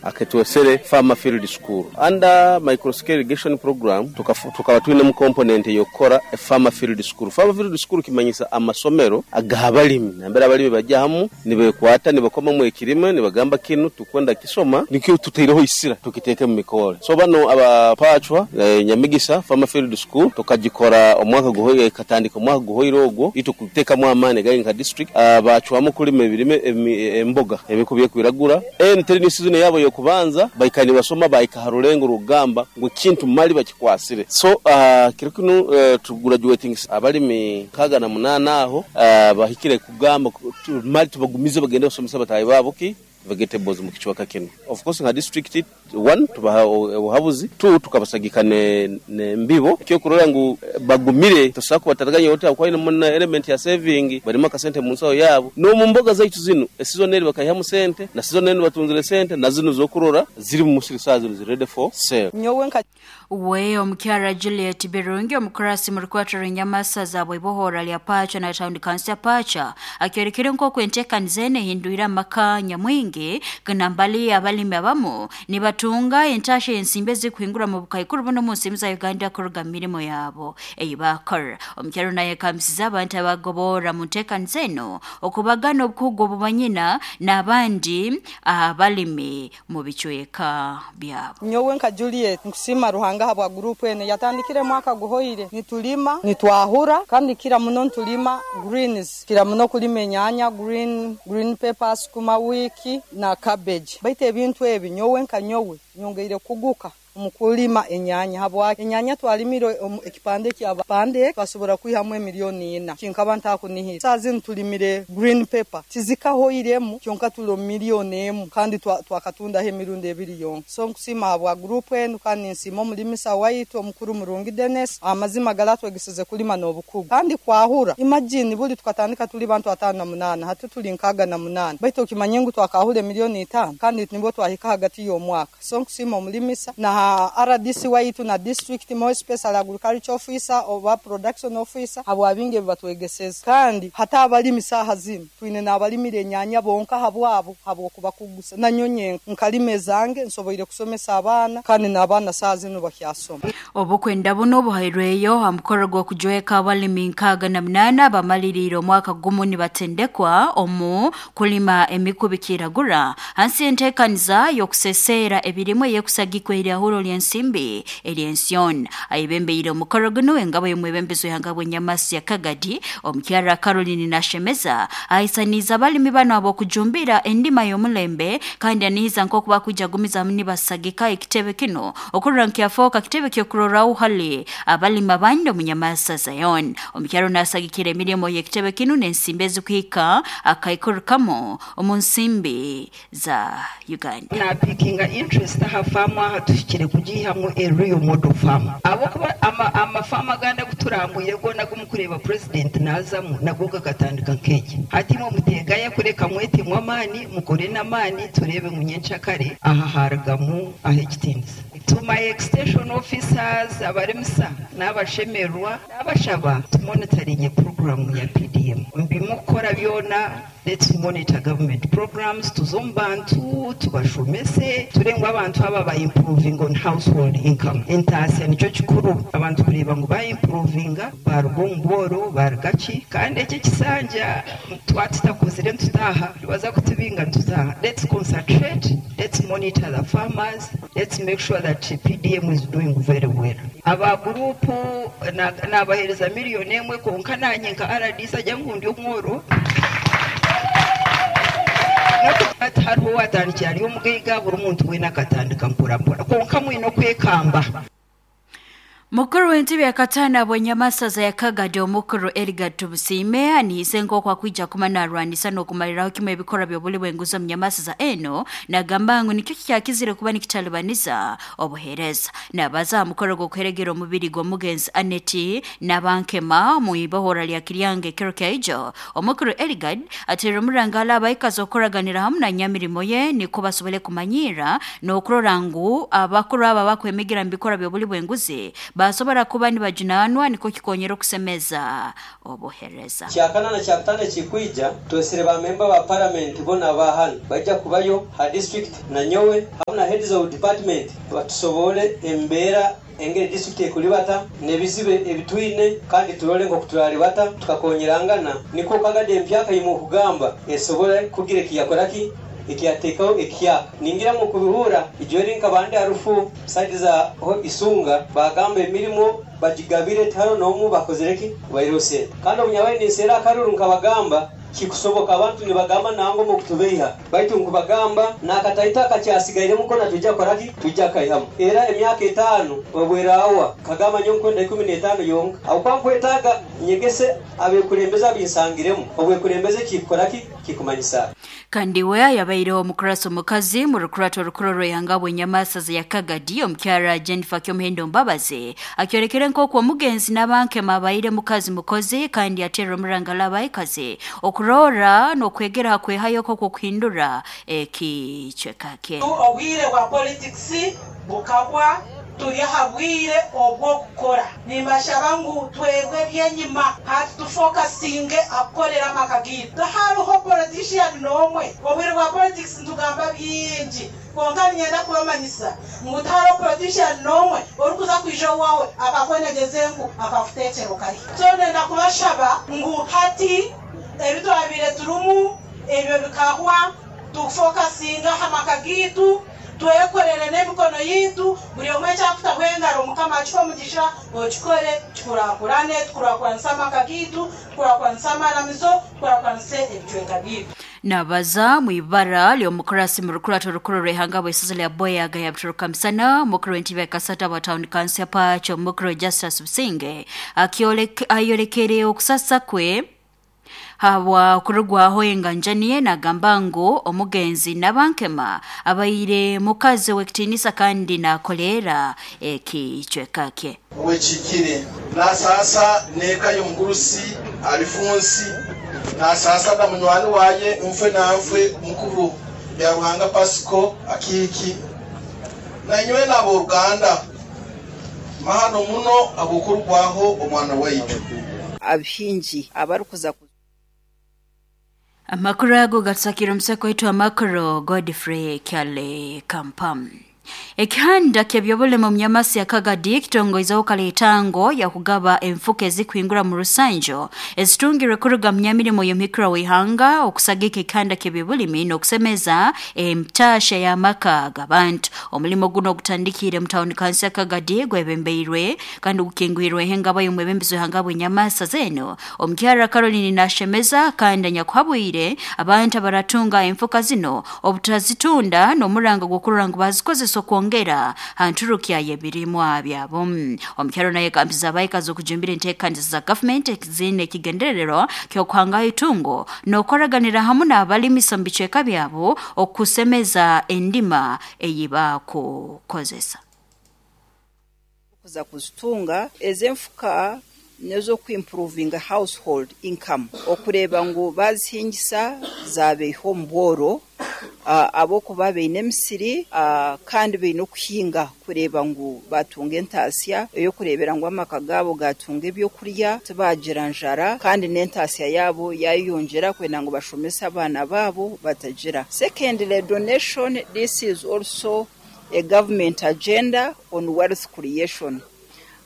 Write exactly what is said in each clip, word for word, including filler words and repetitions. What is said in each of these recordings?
Aketwesere Farmer Field School under microscale irrigation program. Tukaba twinemu component ey'okukora Farmer Field School. Farmer Field School kimanyisa amasomero ag'abalimi, nambere abalimi bajja hamu nibekwata, nibakomamu ekirime, nibagamba kinu tukwenda kisoma, nikyo tutaireho isira tukiteeke mu mikore. So bano abapachwa eh, Nyamigisa Farmer Field School tukagikora omwaka guhoire, katandika omwaka guhoire ogwo itu kutekamu amaani gali nka district. uh, bacwamu kulima ebirime emboga emikubi ekwiragura. En training season yabo yokubanza baikani basoma, baika harulengo rugamba ngu kintu mali bakikwasire. So uh, kiro kinu uh, tugraduating abalimi kaga na munana aho uh, bahikire kugamba mali tubagumize bagende basomesa batayi babo ki vegetables mu kichwaka kino. Of course, nka district, one, tubaha obuhabuzi, two, tukabasagika ne, ne mbibo kyo kurora ngu bagumire tosako bataraganya yote kwa ino muna element ya saving, barimo akasente mu nsaho yabo no mu mboga zaitu zino season eri bakayihamu sente na season eri batunzire sente na zino zokurora ziri mu musiri saa zino ziri ready for sale. Nyowe nka We omukyara Juliet Birungi, omukurasi mu rukwatiro Nyamasaza bw'ibohora lya Pacha na town council ya Pacha, akyorekere nk'oku enteekaniza eno ehindwire amaka nyamwingi ganambali abalimi abamu nibatunga entasha ensimbi ezikuhingura mu bukaikuru buno mu nsimbi za Uganda kuruga mu mirimo yabo eyi bakora. Omukyaro naye kamisiza abantu abagobora mu nteekaniza eno okubagana obukugu obubanyina n'abandi abalimi mu bicweka byabo. Nyowe nka Juliet nkusima Ruhanga habwa group ene yatandikire mwaka guhoire. Nitulima, nitwahura, kandi kira muno ntulima greens, kira muno kulima enyanya, green green peppers, sukuma wiki na cabbage. Baite ebintu ebi nyowe nka nyowe nyongeire kuguka omukulima enyanya, habwa enyanya twalimire ekipande kya pande twasobora kwihamu emiliyoni ina, kinkaba ntakunihira. Saa zino tulimire green pepper tizikahoiremu, kyonka tulo miliyoni emu kandi twakatundaho emirundi ebiri yonka. So nkusima habwa group enu kandi nsima omulimisa waitu omukuru Murungi Dennis. Amazima galatwegesize kulima n'obukugu kandi kwahura. Imagine, buli tukatandika tuli bantu atano na munana, hati tuli nkaga na munana, baitu okimanye ngu twakahura emiliyoni itano kandi nibwo twahika hagati y'omwaka. So nkusima omulimisa na R D C waitu na district, more special agriculture officer oba production officer, habwa bingi batwegeseza. Kandi hata abalimi saha zino twine n'abalimire enyanya bonka habwabo, habwokubakugusa. Nanyonye nkalime zange nsoboire kusomesa abaana kandi n'abaana saha zino bakyasoma. Obukwenda buno buhairweyo ha mukoro gw'okujweka abalimi nkaaga na munaana bamaliriire omwaka gumu nibatendekwa omu kulima emikubi kiragura hansi y'enteekaniza y'okuseseera ebirimu eyekusagikwa eryahuro ly'ensimbi ery'ension. Ayebembeire omukoro guno engabo y'omwebembezi w'ihanga bw'enyamasi ya Kagadi, omukyara Caroline Nashemeza, ahisaniza abalimi bano ab'okujumbira endima y'omulembe kandi anihiza nk'oku bakujagumizamu nibasagika ekitebe kino okurora nkyafooka kitebe ky'okuroraho hali abalimi abandi omu Nyamasa Zion. Omukyaro nasagikira emirimo y'ekitebe kino n'ensimbi ezikuhika akaikuru kamo omu nsimbi za Uganda. Napikinga interest aha famu aha tuhikire kugihamu a real model farm, abokuba amafamu aganda guturambuye gona gumukureba president nazamu nago gakatandika nk'eki. Hatimwe mutegaya kureka mwetimwe amaani, mukore n'amaani, turebe munyencakare aha haragamu aha ekitiinisa. To my extension officers, abarimisa n'abashemerwa, n'abashaba tumonitoringe program ya P D M mbimukora byona. Let's monitor government programs, tuze omu bantu tubashomese, turengwa abantu aba ba improving on household income. Entasya nicyo kikuru, abantu kureba ngu baimprovinga baruga omu bworo barugaki. Kandi eki ekisanja twatutakozire ntutaha baza kutubinga ntutaha. Let's concentrate, let's monitor the farmers, let's make sure that P D M is doing very well. Aba gurupu nabahereza miliyoni emwe, konka nanye nka R D C ajya nkundi omworo hariho watandikira ari omugaiga, buri muntu wena akatandika mpora, konka mwine okwekamba. Mukuru w'entebe ya katana bw'enyamasaza ya Kagadi, omukuru Edgar Tumusiime, anihize nk'oku akwija kuma narwanisa n'okumaliraho kimwe ebikora by'obuli bw'enguzi omu nyamasaza eno, nagamba ngu nikyo kikyakizire kuba nikitalibaniza obuheereza. Nabaza aha mukoro gw'okuheregera omubiri gw'omugenzi Aneti n'abankema mu ibohora lya Kiryange ekiro kyaijo. Omukuru Edgar ateera omurangala abaikazi okukoraganira hamu na nyamirimo ye niko basobole kumanyira n'okurora ngu abakuru aba bakwemigira mu bikora by'obuli bw'enguzi. Nibasobora kuba nibajunanwa niko kikonyera okusemeza obuhereza. Kyakana na kyakutano kikwija twesire ba member ba parliament bona abahano bajja kubayo ha district na nyowe hamwe na heads of department batusobole embeera engeri district ekulibata nebizibe ebitwine kandi turole ngo kuturalibata tukakonyerangana niko kagade empyaka yimu kugamba esobole kugira kiyakoraki ikiatekaho ikiya ningira mu kubihura ijori nkabande harufu side za isunga bagamba emirimo bajigabire taro nomu bakozereki bairose kandi omunyabayi nisera akaruru nkabagamba kikusoboka abantu nibagamba nango mu kutubeiha baitu nkubagamba nakataita akacyasigaire mukona tujja koraki tujja kaihamu era emyaka etano obwerawa kagamba nyonkwenda ikumi n'etaano yonka aho kwankwetaga nyegese abekulembeza binsangiremu obwekulembeze kikoraki kikumanyisa. Kandi we yabaire omukurasa omukazi mu rukurato rukuroro yangabwe nyamasa ya Kagadi omukyara Jennifer Kyomuhendo Mbabazi akyorekere nk'okwo omugenzi n'abanke mabaire mukazi mukozi kandi atera omurangala abayikazi okurora n'okwegera kwehayo koko kuhindura ekichweka kye. Obwire bwa politics bukabwa turi habwire obwo kukora nimbashaba ngu twebwe byenyima hati tufokasinge akorera amakagitu hariho politician nomwe obwire bwa politics ntugamba byingi konka nyenda kubamanyisa ngu tihariho politician nomwe orikuza kwija wawe akakwenegeze ngu akakuteekera kari. So nenda kubashaba ngu hati ebitwabire turumu ebyo bikahwa tufokasinga hamakagitu twekorere n'emikono yitu buri omwe ekyakutaho engaro mukama akiha omugisha okikore tukurakurane tukurakuranisa amaka gitu tukurakuranisa amaramizo tukurakuranisa ebicweka bitu. Nabaza mwibara lyomukurasi mu rukurato rukuru rw'ihanga bw'esaza lya Boyaga yabituruka misana mukuru w'entebe ya Kasata wa town council Pacho mukuru Justus Businge ayolekere okusasa kwe habwa kurugwaho enganjaniye nagamba ngu omugenzi nabankema abaire mukazi w'ekitinisa kandi nakolera ekichweka kye wekikire nasasa neka y'omugurusi alifunsi nasasa na munywani waye mfwe na mfwe mukuru ya Ruhanga Pasco akiki nanywe nabo Uganda mahano muno abukurwaho omwana waitu abhinji abarukuza. Amakuru ago gatsakira omuseko wetu amakuru Godfrey Kyale Kampam. Ekihanda ky'ebyobulemu munyamasi ya Kagadi kitongoizaho kaletango ya kugaba enfuka ezikuhingura mu rusanjo ezitungirwe kuruga munyamirimo y'omukura w'ihanga okusagika ekihanda ky'ebyobulimi n'okusemeza emtasha y'amaka g'abantu. Omulimo guno ogutandikire mu tawuni kansi ya Kagadi gwebembeirwe kandi gukingwirwe engaba y'omwebembezi w'ihanga bw'enyamasa zeno omukyara Caroline Nashemeza kandi anyakuhabwire abantu abaratunga enfuka zino obutazitunda n'omuranga gw'okurora ngu bazikozesa okwongera hanturukya yebirimwa byabo. Omukyaro naye kampiza abayikazi okujumbira enteekaniza za gavumenti zine ekigendererwa ky'okuhangaho itungo n'okoraganira hamwe n'abalimisa mu bicweka byabo okusemeza endima eyibakukozesa. Kuza kuzitunga ezenfuka nezo kuimprovinga household income okureba ngu bazihingisa zabeho mbworo uh, abokuba beine emisiri uh, kandi beine okuhinga kureba ngu batunga entasya eyo kurebera ngu amaka gabo gatunga ebyokurya tibagira njara kandi n'entasya yabo yayongera kwenda ngu bashomese abaana babo batagira. Secondly, donation, this is also a government agenda on wealth creation.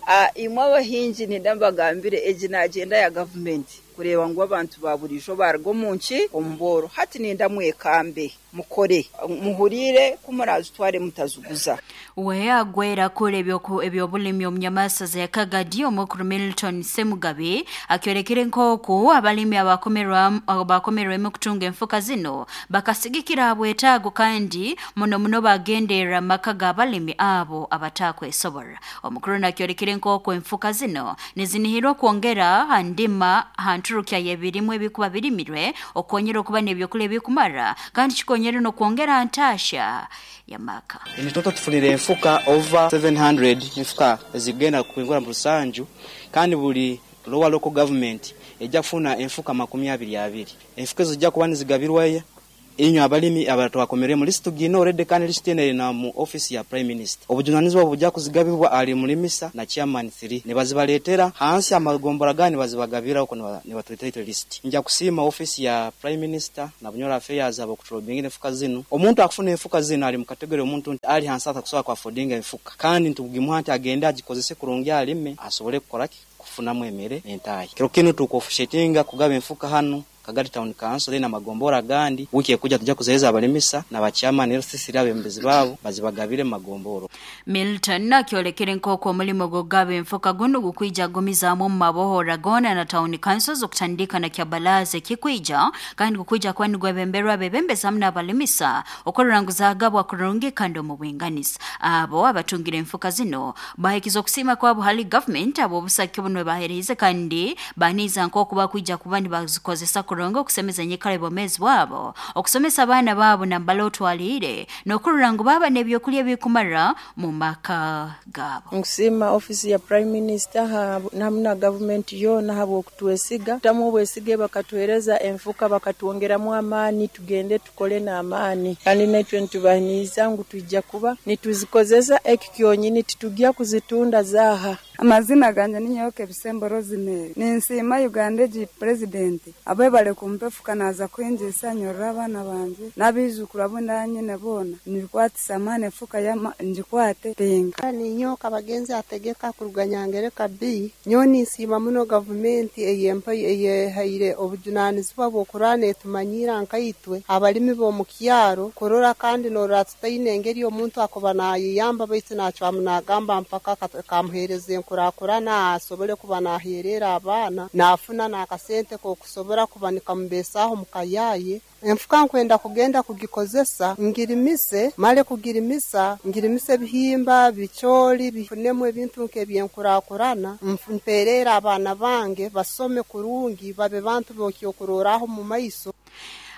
Uh, imwe abahingi nindambagambire egi na agenda ya government kureba ngu abantu ba burijo bargo munki omboro hati ninda mwekambe mukore muhurire kumurazi tware mutazuguza. We agwera kule ebyobulimi omunyamasa za Kagadi omukuru Milton Semugabe akyorekere nk'oku abalimi abakomerwa abakomerwemu kutunga enfuka zino bakasigikira abwetaago kandi muno muno bagenderera amaka g'abalimi abo abatakwesobora. Omukuru nakyorekere nk'oku enfuka zino nizinihirwa kwongera handima hanturukya y'ebirimu ebikuba birimirwe okonyera okuba n'ebyokulya ebikumara kandi kikonyera n'okwongera ntasha yamaka. Enitoto tufunire enfuka over seven hundred enfuka ezigenda kuingura mu rusanju kandi buli lower local government ejja kufuna enfuka makumi abiri abiri. Enfuka ezo zijja kuba nizigabirwayo Inywe abalimi abatwakomeremu list gino already, kandi list eno eri na mu office ya Prime Minister. Obujunanizibwa bujja kuzigabibwa ali mulimisa na chairman three nibazibaletera hansi amagombora gani bazibagabira uko nibatuletera list. Nja kusiima office ya Prime Minister na Bunyoro Affairs abo kutrobinga enfuka zino. Omuntu akufuna enfuka zino ali mu category omuntu ali hansi atakusobola ku affordinga enfuka, kandi ntugimuha nti agende agikozese kurungi alime asobole kukora ki kufunamu emere entayi. Kiro kinu tukofushetinga kugaba enfuka hano Kagadi Town Council na magombora gandi. Wiki ekuja tuja kuzeeza abalimisa na bachama ne sisi abembezi babo bazibagabire magomboro. Milton akyolekere nkoko omulimo gogaba enfuka guno gukwija gumizaamu mu mabohora gona na Town Council okutandika na kyabalaze kikwija kandi gukwija kwani gwebemberwa bebembeza hamwe n'abalimisa okorora ngu zagabwa kurungi kandi omu bwinganisa. Abo abatungire enfuka zino bahikiza okusima kwabo hali government abo obusaki buno bahereze kandi baniza nkoko bakwija kuba nibazikozesa kurongo okusemeza nyikara ebomezi bwabo okusomesa abaana babo nambala otwalire n'okurora ngu baba n'ebyokulya bikumara mu maka gabo. Nkusima office ya Prime Minister namna government yona habo okutwesiga tamu obwesige bakatuhereza enfuka bakatuongeramu amaani tugende tukole na amaani, kandi naitwe ntubahiniza ngu tujja kuba nituzikozesa ekikyonyini titujja kuzitunda zaha. Amazina ganje ni Nyoke Bisembo Rosemary. Ninsiima Uganda gi president abe bale kumpefuka naza kwinjisa nyorora abana banje nabizukuru abo ndanyine bona nibikwatisa mane fuka ya njikwate pinga. Ni nyoka bagenzi ategeka kuruganyangereka B nyoni nsiima muno government eyempa eyehaire obujunanizibwa bw'okurana etumanyira nkaitwe abalimi bo mu kyaro kurora kandi norora tutaine engeri omuntu akoba nayiyamba baitu nacwamu nagamba mpaka kamuhereze kurakurana asobole kuba naherera abana nafuna nakasente ko kusobora kuba nikambesaho mukayaye. Enfuka nkwenda kugenda kugikozesa ngirimise male kugirimisa ngirimise bihimba bicholi bifunemu ebintu nk'ebyenkurakurana mperera abana bange basome kurungi babe bantu bokyokuroraho mu maiso.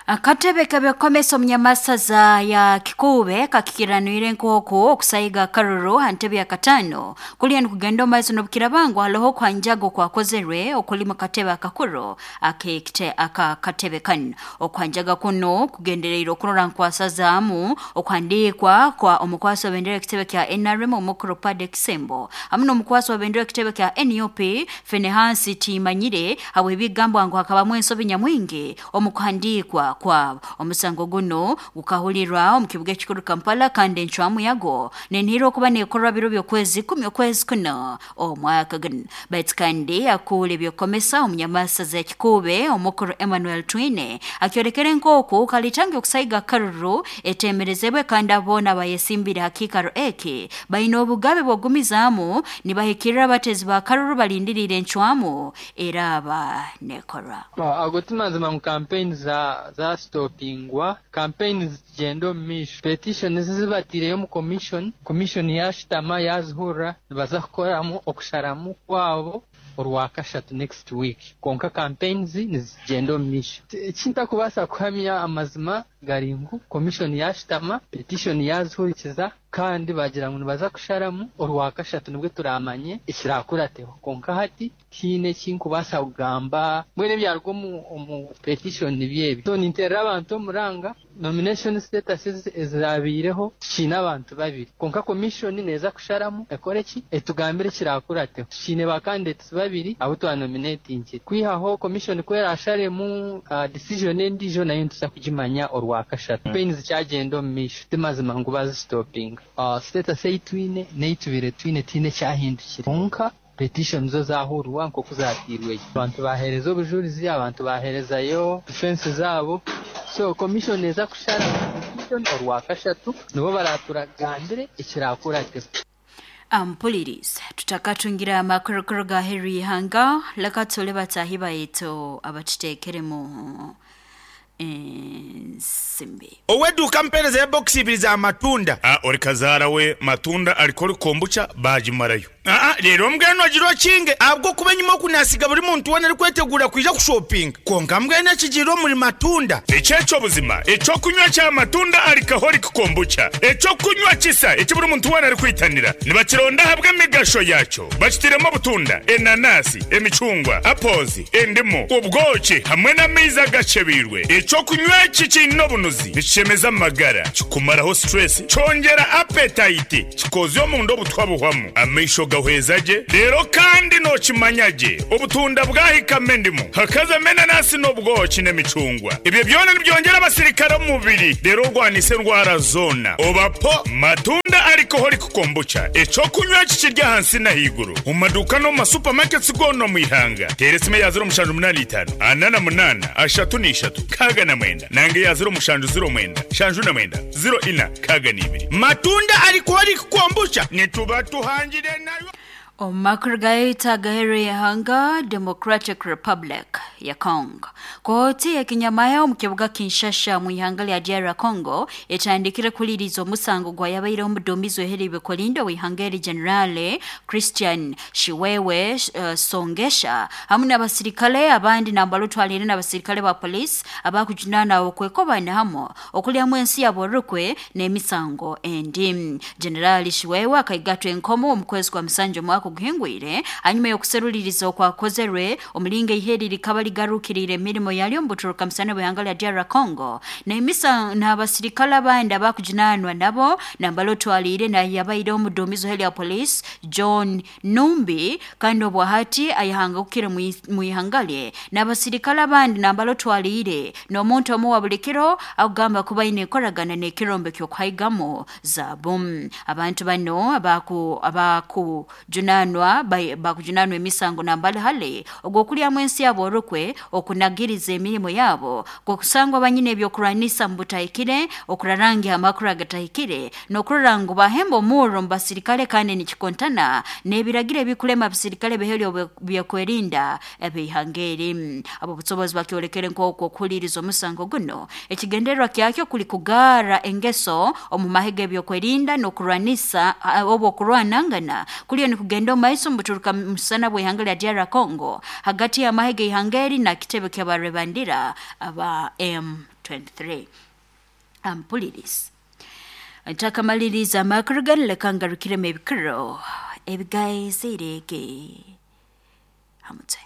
Akatebe k'ebyokomesa omunyamasaza ya Kikube kakikiranwire nkoko okusayiga akaruru hantebe ya katano kulya nikugenda omaiso n'obukirabangu haloho kwanjago kwakozerwe okulima katebe akakuru akekite akakatebe kano. Okwanjaga kuno kugendereire okurora nkwasazaamu okwandiikwa kwa omukwasi wa bendera ekitebe kya N R M omukuru Pade Kisembo hamwe n'omukwasi wa bendera ekitebe kya N U P Fenehansi Timanyire habw'ebigambwa ngu hakabamu ensobi nyamwingi omukuhandiikwa kwabo. Omusango guno gukahulirwa omu kibuga ekikuru Kampala kandi encwamu yago nenhira okuba nekorwa biro by'okwezi kumi okwezi kuno omwaka guno. Baitu kandi akuula ebyokomesa omunyamasaza ekikube omukuru Emmanuel Twine akyolekere nk'oku kalitange okusayiga akaruru etemerezebwe kandi aboona bayesimbire hakikaro eki baine obugabe bw'ogumizaamu nibahikirira abatezi ba karuru balindirire encwamu eraba nekorwa. Ago timazima mu campaign za za stopingwa campaign zigenda omu maisho petition zibatireyo mu commission commission yashitama yazihurra nibaza kukoramu okusharamu kwabo orwakashatu next week. Konka campaigns nizigenda omu maisho. Ekintakubaasa kuhamya amazima gari ngu commission yashitama petition yazihurikiza kandi bagira ngu nibaza kusharamu orwakashatu nibwe turamanye ekirakurateho. Konka hati tiine ekinkubaasa kugamba mbwenu ebyaruga omu, omu petition nibyebi. So ninterera abantu omuranga nomination status ezirabiireho tukiine abantu babiri, konka commission neeza kusharamu ekore ki etugambire ekirakurateho. Tukiine ba candidates babiri abo twanominatingire kwihaho commission kwerasharemu uh, decision endijo nayo nituza kugimanya orwakashatu. Campaigns zikyagenda omu maisho timazima ngu bazistopinga. Uh, status eitwine neitubire twine tiine kyahindukire, konka petition zo zahurwa nkoku zatirweyo abantu bahereza obujurizi abantu baherezayo defense zabo. So commission eza kushara petition orwakashatu nibo baraturagambire ekirakurate. Ampuliriza tutakatungira amakurukuru ga Heri Hanga lakatole batahi bayeto abatutekeremu ensimbi. Oweduka mpereza ya box ibiri za matunda. Ah, ori kazara we matunda alikori kombucha bajimarayo. Aa rero mbwenu ogira okinge ahabw'okuba enyuma okunasiga buri muntu weena arikwetegura kwija kushopinga konka mbwenu ekigiire omuri matunda. Ekyekyo buzima ekyokunywa kya matunda alcoholic kombucha ekyokunywa kisa eki buri muntu weena arikwitanira nibakironda ahabw'emigasho yakyo bakitiremu obutunda, enanasi, emicungwa, apples, endimu, obwoki hamwe n'amaizi agacebeirwe. Ekyokunywa eki kiine obunuzi nikishemeza amagara, kikumaraho stress, kyongera appetite, kikozya omunda obutwa buhwamu, amaisho gahweza gye. Rero kandi nokimanya gye obutunda bwahikamo endimu hakazamo enanasi n'obwoki n'emicungwa, ebyo byona nibyongera abasirikare omu mubiri rero orwanisa endwara zoona. Obapo matunda alcoholic kombucha ekyokunywa eki kiri ahansi n'ahaiguru omu maduuka n'omu masupamaketi goona omu ihanga. Teera esimu eya ziro mushanju munaana itaano ana na munaana ashatu n'ishatu nkaaga na mwenda nange eya ziro mushanju ziro mwenda shanju na mwenda ziro ina nkaaga n'ibiri. Matunda alcoholic kombucha nituba tuhangire nayo. Omu gaita gahere yahanga Democratic Republic ya Congo. Kooti ya kinyamaya omu kibuga Kinshasa mu ihanga lya D R Congo etandikire kuliriza omusango gwa yabaire omuduumizi w'eheri bikolindo w'ihanga eri Generale Christian Shiwewe uh, Songesha hamwe n'abasirikale abandi nambalutwalire n'abasirikale ba police abakujunana okwekobana hamwe okulyamu ensi yabo rukwe n'emisango endi. Generale Shiwewe akaigatwa enkomo omu kwezi kwa Musanju mwaka guhingwire hanyuma yokuseruliriza okwakozerwe omulinga iheri likaba ligarukirire emirimo yalyo mbuturuka musana bw'ihanga lya D R Congo n'emisa n'abasirikale abandi abakujunanwa nabo nambalotwalire na yabaire omuduumizi w'eheri ya police John Numbi kandi obwahati ayahanga kukira mu ihanga lye n'abasirikale abandi nambalotwalire n'omuntu omu wa buli kiro akugamba kuba ine enkoragana n'ekirombe ky'okuhaigamo zaabu. Abantu bano abaku abaku junanwa bakujunanwa emisango nambali hale ogwokulyamu ensi yabo orukwe okunagiriza emirimo yabo gokusangwa banyine ebyokurwanisa mu butahikire, okurarangi amakuru agatahikire n'okurora ngu bahemba omurro mu basirikale kandi nikikontana n'ebiragiro ebikulema abasirikale beheri byokwerinda ebihanga eri. Abo busobozi bakyolekere nk'okwo okuhuliriza omusango guno ekigendererwa kyakyo kuli kugara engeso omu mahega ebyokwerinda n'okurwanisa oba okurwanangana kuliyo nikugenda omu maiso mubuturuka musana bw'ihanga lya D R Congo hagati ya mahega ihanga eri na kitebe ky'abarebandira aba M twenty-three. Ampuliriza ntakamaliriza amakuru ganu leka ngarukiremu ebikiro ebigaizirege hamutwe.